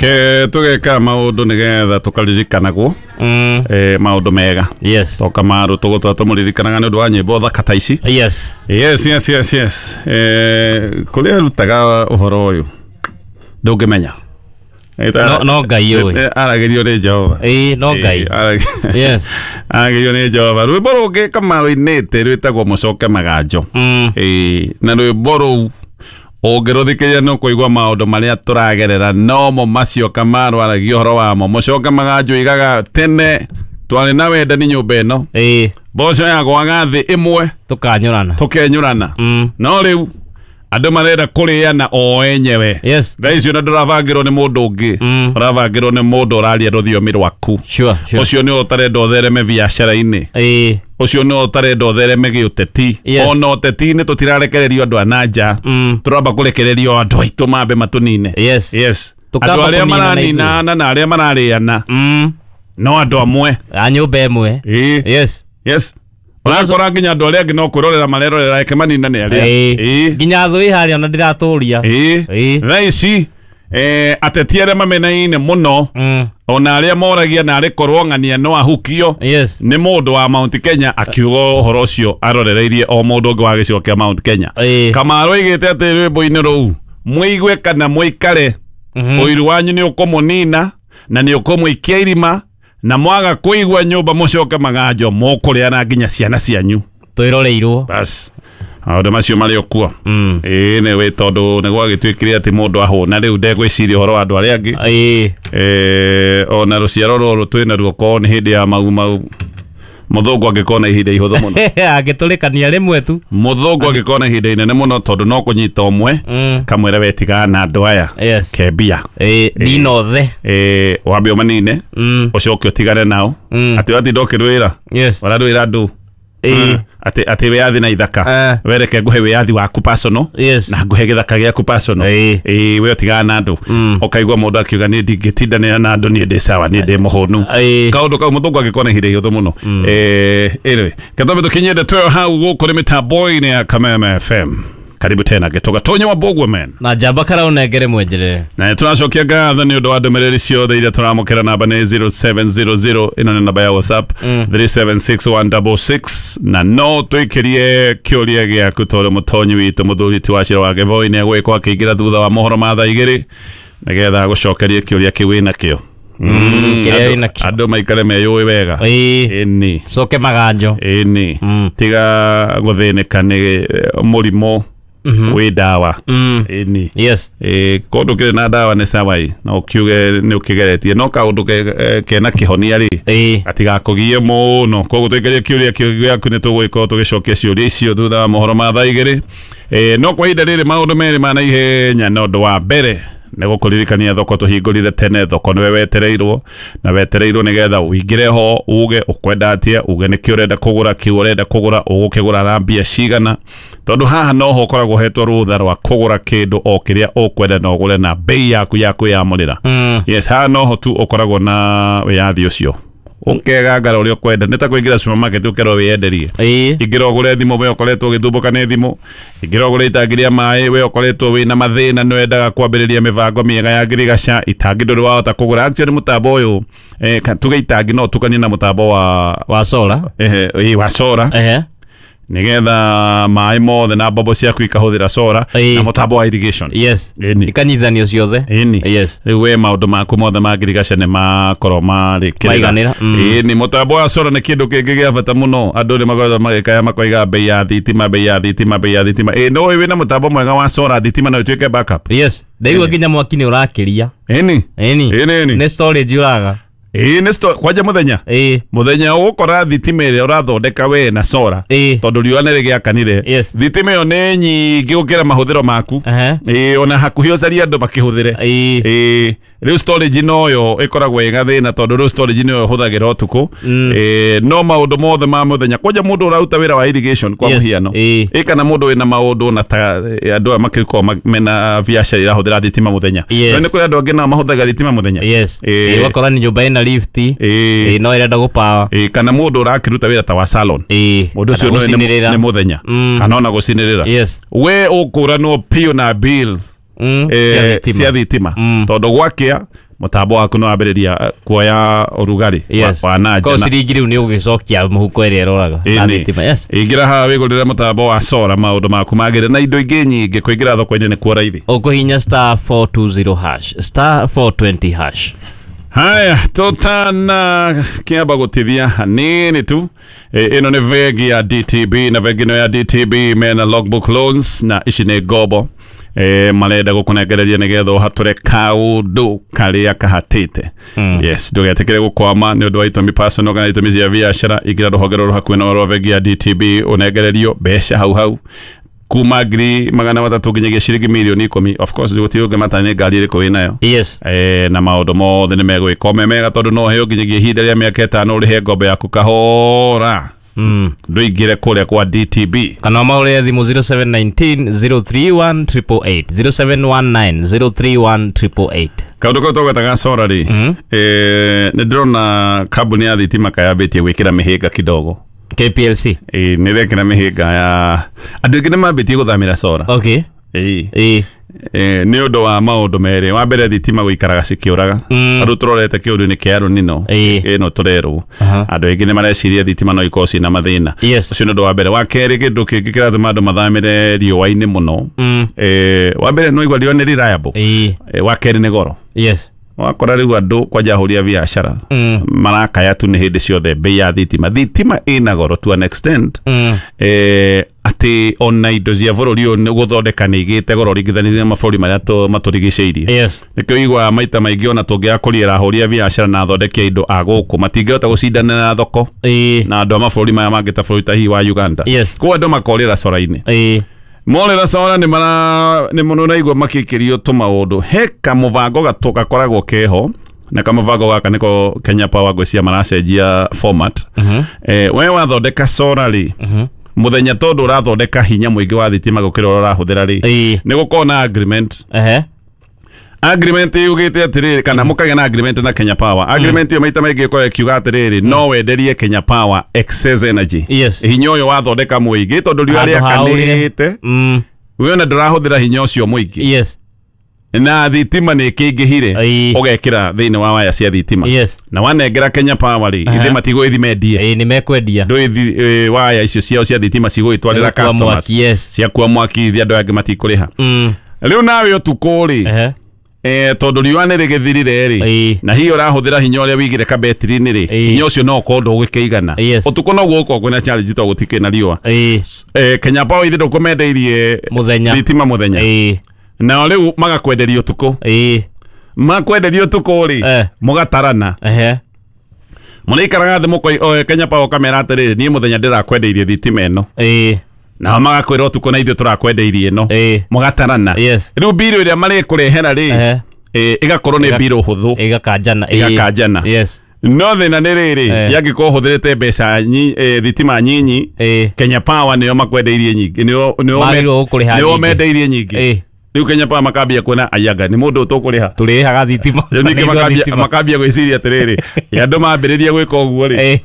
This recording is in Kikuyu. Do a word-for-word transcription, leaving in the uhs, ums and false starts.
Ke tugeka maundu nigetha tukaririkanagwo mm. eh maundu mega. Yes. To Kamaru tugutwa tumuririkanaga ni undu wa nyimbo thaka ta ici. Yes. Yes yes yes yes. Eh kuria rutaga uhoro uyu ndungimenya. No no Ngai uyu. Aragerio ni Jehova. Eh no Ngai. Yes. Aragerio ni Jehova. Rwimbo rungi Kamaru inite rwitagwo Mucoke Maganjo. Mm. Eh na rwimbo ruu ũngĩrũthikĩrĩria nĩ ũkũigua maũndũ marĩa tũragerera nomo macio Kamaru aragia ũhoro wamo. Mũcoke Maganjo igaga tene twarĩ na wendani nyũmba ĩno. Ĩĩ. Mboco yagwaga thĩ ĩmwe tũkanyũrana tũkenyũrana. Mm. No rĩu andũ marenda kũrĩana o enyewe. Yes. Thaa icio na ndũravangĩrwo nĩ mũndũ ũngĩ. Mm. Ũravangĩrwo nĩ mũndũ ũraria rũthiomi rwaku. Sure, sure. Ũcio nĩwe ũtarenda ũthereme biacara-inĩ. Ĩĩ. Ũcio nĩwe ũtarenda ũthereme gĩũteti. Yes. Ona ũteti-inĩ tũtirarekererio andũ a na nja. Mm. Tũramba kũrekererio andũ aitũ mambe matũnine. Yes. Yes. Tũkamba Andũ arĩa kũninana ithuĩ. maraninana na arĩa mararĩana Mm. no andũ amwe. A nyũmba ĩmwe. Ĩĩ. Yes. Yes. Ũrakora nginya andũ arĩa angĩ no kwĩrorera marerorera eke maninane arĩa. Ĩĩ. Ĩĩ. Nginya thũ ĩ harĩa ona ndĩratũria. Ĩĩ. Ĩĩ. Thaa ici eh, ateti arĩa mamenaine mũno Mm. ona arĩa moragia na arĩ korwo ng'ania no ahukio Yes. nĩ mũndũ wa Mount Kenya akiuga ũhoro ũcio arorereirie o mũndũ ũngĩ wa gĩcigo kĩa Mount Kenya. Ĩĩ. Kamaru aigĩte atĩ rwĩmbo-inĩ rũu mũigue kana mũikare Mhm. ũiru wanyu nĩ ũkũmũnina na nĩ ũkũmũikia irima na mwaga kũigua nyũmba mũcoke maganjo mũkũrĩana nginya ciana cianyu. Twĩroreirwo. Bas maũndũ macio marĩ o kuo. Mm. Ĩĩ nĩ tondũ nĩ gwagĩtuĩkire atĩ mũndũ ahũna rĩu ndegwĩciria ũhoro wa andũ arĩa angĩ. Ĩĩ. Eh, ona rũciaro rũrũ twĩna ruo korwo nĩ hĩndĩ ya mau mau mũthũngũ angĩkorwo na ihinda ihũthũ mũno. Angĩtũrĩkania rĩmwe tu. Mũthũngũ angĩkorwo na ihinda inene mũno tondũ no kũnyita ũmwe Mm. kamwĩre we tigana na andũ aya Yes. kembia. Ĩĩ ndinothe. Eh, wambe ũmanine Mm. ũcoke ũtigane nao. Mm. Atĩ watinda ũkĩrwĩra Yes. ũrarwĩra andũ Ĩĩ. atĩ atĩ wĩyathi na ithaka Eh. wereke ngũhe wĩyathi waku personal Yes. na ngũhe gĩthaka gĩaku personal. Ĩĩ. Ĩĩ we ũtigana na andũ. Mm. Ũkaigua mũndũ akiuga niĩ ndingĩtindanĩra na andũ niĩ ndĩ sawa niĩ ndĩ mũhũnu. Ĩĩ. Kaũndũ kau mũthũngũ angĩkorwo na ihinda ihũthũ mũno. Eh, anyway kethambe tũkinyie ndeto ĩyo hau gũkũ nĩ mĩtambo-inĩ ya Kameme F M. Karibu tena Gĩtũga Tonyo wa Mbũguo man. Na njamba karaũnengere mwenjerere. Na tũracokia ngatho nĩ ũndũ wa ndũmĩrĩri ciothe iria tũramũkĩra namba nĩ zero seven zero zero ĩno nĩ namba ya WhatsApp Mm. three seven six one six six na no twĩkĩrie kĩũria gĩaku tondũ mũtonyi witũ mũthuri ti wa Cira wa Gĩboi nĩ egũgĩkorwo akĩingĩra thutha wa mohoro ma thaa igĩrĩ nĩgetha agũcokerie kĩũria kĩu wĩnakĩo. Mm, kĩrĩa Andũ- wĩnakĩo. andũ maikare meyũĩ wega. Ĩĩ. Ĩni. Coke maganjo. Ĩni. Mm. Tiga gũthĩnĩka nĩ mũrimũ Mhm. wĩ ndawa. Mm. Ĩni. Yes. Eh, kũndũ kĩrĩ na ndawa nĩ sawa ĩ no ũkiuge nĩ ũkĩgeretie no kaũndũ ke- kena kĩhonia rĩ Ĩĩ. gatigakũgie mũno koguo twĩkĩrie kĩũria kĩu gĩaku nĩ tũgũgĩkorwo tũgĩcokia ciũria icio thutha wa mohoro ma thaa igĩrĩ. Eh, no kwa ihinda rĩrĩ maũndũ merĩ ma naihenya na ũndũ wa mbere nĩ gũkũririkania thoko tũhingũrire tene thoko nĩwe wetereirwo na wetereirwo nĩgetha ũingĩre ho uge ũkwenda atĩa uge nĩkĩ ũrenda kũgũra kĩu ũrenda kũgũra ũgũkĩgũra na mbia cigana tondũ haha noho ũkoragwo ũhetwo rũtha rwa kũgũra kĩndũ o kĩrĩa ũkwenda na ũgũre na bei yaku ya kwĩyamũrĩra. Mm. Yes, haha noho tu ũkoragwo na wĩyathi ũcio ũkegangara ũrĩa ũkwenda nĩ ta kũingĩra supermarket ũkerwo wĩyenderie. Ĩĩ. Ingĩra ũgũre thimũ we ũkoretwo ũgĩthumbũka nĩ thimũ ingĩra ũgũre itangi rĩa maĩ we ũkoretwo wĩna mathĩna nĩ wendaga kwambĩrĩria mĩbango mĩega ya ngirigaca itangi ndũrĩ wahota kũgũra actually mũtambo ũyũ eh, ka- tuge itangi no ũtukanie na mũtambo wa Wa solar. eh, eh, wa solar Ehe. nĩgetha maĩ mothe na mbombo ciaku ikahũthĩra solar Ĩĩ. na mũtambo wa irrigation. Yes. Ĩni. Ikanyitithanio ciothe. Ĩni. Yes. Rĩu we maũndũ maku mothe ma ngirigaca nĩ makorwo marĩkĩrĩra. Maiganĩra, mm. Ĩni mũtambo wa solar nĩ kĩndũ kĩngĩ gĩa bata mũno andũ nĩ makoretwo magĩkaya makoiga bei ya thitima bei ya thitima bei ya thitima ĩ no wĩna mũtambo mwega wa solar thitima no ĩtuĩke backup. Yes. Ndaigua nginya mwaki nĩ ũrakĩria. Ĩni. Ĩni. Ĩni ĩni. Nĩ storage ũraga. Ĩĩ nĩ sto kwanja mũthenya. Ĩĩ. Mũthenya ũgũkora thitima ĩrĩa ũrathondeka we na solar Ĩĩ. tondũ riũa nĩ rĩgĩakanire. Yes. Thitima ĩyo nĩ nyingĩ gũkĩra mahũthĩro maku. Ehe. Ĩĩ ona hakuhĩ ũcarie andũ makĩhũthĩre. Ĩĩ. Ĩĩ rĩu storage noyo ĩkoragwo ĩ gathĩna tondũ rĩu storage nĩyo ĩhũthagĩra ũtukũ. Mm. Ĩĩ no maũndũ mothe ma mũthenya kwanja mũndũ ũraruta wĩra wa irrigation kwa Yes. mũhiano. Ĩĩ. Ĩ kana mũndũ wĩna maũndũ na ta andũ aya makĩkorwo ma- mena biacara irahũthĩra thitima mũthenya. Yes. No nĩ kũrĩ andũ angĩ nao mahũthagĩra thitima mũthenya. Yes. Ĩĩ. Ĩĩ ũgakora nĩ nyũmba ĩna lift. Ĩĩ. Ĩĩ no ĩrenda gũpawa. Ĩĩ kana mũndũ ũrakĩruta wĩra ta wa salon. Ĩĩ. Mũndũ ũcio Kana no nĩ gũcinĩrĩra. nĩ mũthenya Mm. kana ona gũcinĩrĩra. Yes. We ũkũranwo biũ na bills Mm. eh, Cia thitima. cia thitima Mm. tondũ gwakĩa Mũtambo waku nĩ wambĩrĩria kuoya ũrugarĩ Yes. wa na Ko nja. ciringi rĩu nĩ ũgĩcokia mũhuko ĩrĩa ĩroraga na Ĩni. thitima. Yes. Ingĩra haha wĩgũrĩre mũtambo wa sora, maũndũ maku magĩrĩre na indo ingĩ nyingĩ. Kũingĩra thoko-inĩ nĩ kuo raithi. Ũkũhinya star four two zero hash, star four twenty hash. Haya, tũtana kĩamba gũtithia hanini tu, e, ĩno nĩ bengi ya D T B, na bengi ĩno ya D T B mena logbook loans, na ici nĩ ngombo e, marenda gũkũnengereria nĩgetha ũhatũre kaũndũ karĩa kahatĩte. mm. Yes, ndũgetĩkĩre gũkwama nĩ ũndũ wa itũmi personal kana itũmi cia biacara. Ingĩra rũhonge rũrũ hakuhĩ na rwa bengi ya D T B, ũnengererio mbeca hau hau kuma ngiri magana matatũ nginyagia ciringi mirioni ikũmi. Of course gũtirĩ ũngĩmata nĩ ngari ĩrĩkũ wĩnayo. Yes. Eh, na maũndũ mothe nĩ megwĩka me mega, tondũ no heo nginyagia ihinda rĩa mĩaka ĩtano ũrĩhe ngombo yaku kahora. Mm. Ndũingĩre kũrĩa kwa D T B. Kana mahũrĩre thimũ zero seven one nine zero three one eight eight eight, zero seven one nine zero three one eight eight eight. Kaũndũ kau tũgwetaga sora rĩ, eh, nĩ ndĩrona kambuni ya thitima kayambĩtie gwĩkĩra mĩhĩnga kidogo. K P L C. Eh, nĩ ĩrekĩra mĩhĩnga ya andũ aingĩ nĩ mambĩtie gũthamĩra sora. Okay. Ĩĩ. Ĩĩ. Eh, nĩ ũndũ wa maũndũ merĩ. Wa mbere, thitima gũikaraga cikĩũraga. Mm. Andũ tũrorete kĩũndũ-inĩ kĩa rũnino Ĩĩ. ĩno tũrerwo, Aha. andũ aingĩ nĩ mareciria thitima no ikorwo ciĩna mathĩna. Yes. Ũcio nĩ ũndũ wa mbere. Wa kerĩ, kĩndũ kĩngĩ kĩratũma andũ mathamĩre riũa-inĩ mũno, Mm. eh, wa mbere no igua riũa nĩ reliable. Ĩĩ. Eh, wa kerĩ nĩ goro. Yes. Wakora rĩu andũ kwanja ahũri a biacara Mm. marakaya tu nĩ hĩndĩ ciothe bei ya thitima. Thitima ĩna goro to an extent Mm. eh, atĩ ona indo cia bũrũri ũyũ nĩ gũthondeka nĩ igĩte goro ringithanĩtie na mabũrũri marĩa tũ- matũrigicĩirie. Yes. Nĩkĩo iguaga maita maingĩ ona tũngĩaga kũriĩra ahũri a biacara na athondeki a indo a gũkũ matingĩhota gũcindana na thoko Ĩĩ. na andũ a mabũrũri maya mangĩ ta bũrũri ta hihi wa Uganda. Yes. Koguo andũ makorĩra cora-inĩ. Ĩĩ. Morĩra cora nĩ mara nĩ mũno naigua makĩkĩrio tũmaũndũ. He kamũbango gatũ gakoragwo keho, na kamũbango gaka nĩko Kenya Power ngwĩciria maracenjia format. Mhm. eh, we wathondeka cora rĩ, Mhm. mũthenya tondũ ũrathondeka hinya mũingĩ wa thitima gũkĩra ũrĩa ũrahũthĩra rĩ, Ĩĩ. nĩ gũkorwo na agreement. Ehe. Agreement yugĩte atĩrĩrĩ, kana mũkagĩa na agreement na Kenya Power. Agreement ĩyo maita maingĩ ĩkoragwo ĩkiuga atĩrĩrĩ, no wenderie Kenya Power excess energy, Yes. hinya ũyũ wathondeka mũingĩ tondũ riũa Handũ haurire. rĩakanĩte, Mm. we ona ndũrahũthĩra hinya ũcio mũingĩ, Yes. na thitima nĩ ĩkĩingĩhire, Ĩĩ. ũgekĩra thĩinĩ wa waya cia thitima, Yes. na wanengera Kenya Power rĩ, Aha. ithe matigũgĩthi mendie. Ĩĩ, nĩ mekwendia. Ndũĩthi waya icio ciao cia thitima cigũgĩtwarĩra Nĩgũkua customers mwaki, yes. ciakua mwaki, ithe andũ angĩ matikũrĩha. Mm. Rĩu nawe ũtukũ rĩ, Ehe. eh, tondũ riũa nĩ rĩgĩthirire rĩ, Ĩĩ. na hihi ũrahũthĩra hinya ũrĩa wĩigire kabetiri-inĩ rĩ, Ĩĩ. hinya ũcio no ũkorwo ndũgũkĩigana. Yes. Ũtukũ noguo ũkorwo kwĩna challenge tondũ gũtikĩrĩ na riũa. Ĩĩ. eh, Kenya Power ithe ndũkũmendeirie Mũthenya. thitima mũthenya, Ĩĩ. nao rĩu magakwenderia ũtukũ. Ĩĩ. Makwenderia ũtukũ rĩ, Eh. mũgatarana. Ehe. Mũrĩikaraga thĩ mũkoi Kenya Power ũkamera atĩrĩrĩ, niĩ mũthenya ndĩrakwendeirie thitima ĩno, Ĩĩ. nao magakwĩra ũtukũ na ithuĩ tũrakwendeirie ĩno. Ĩĩ. Mũgatarana. Yes. Rĩu mbirũ ĩrĩa marĩkũrehera rĩ, Ehe. eh, ĩgakorwo nĩ Ĩga- mbirũ hũthũ. Ĩgakanjana. Ĩĩ. Ĩgakanjana. Yes. No thĩna nĩ rĩrĩ, Eh. yangĩkorwo ũhũthĩrĩte mbeca nyi, eh, thitima nyinyi, Ĩĩ. Kenya Power nĩo makwendeirie nyingĩ, nĩo nĩo me- Magĩrĩirwo gũkũrĩha nĩo nyingĩ. mendeirie nyingĩ. Ĩĩ. Rĩu Kenya Power makambia kuona ayanga nĩ mũndũ ũtũkũrĩha. Tũrĩhaga thitima. Rĩu ningĩ Nĩguo makambia thitima. makambia gwĩciria atĩrĩrĩ, andũ mambĩrĩria gwĩka ũguo rĩ. Ĩĩ.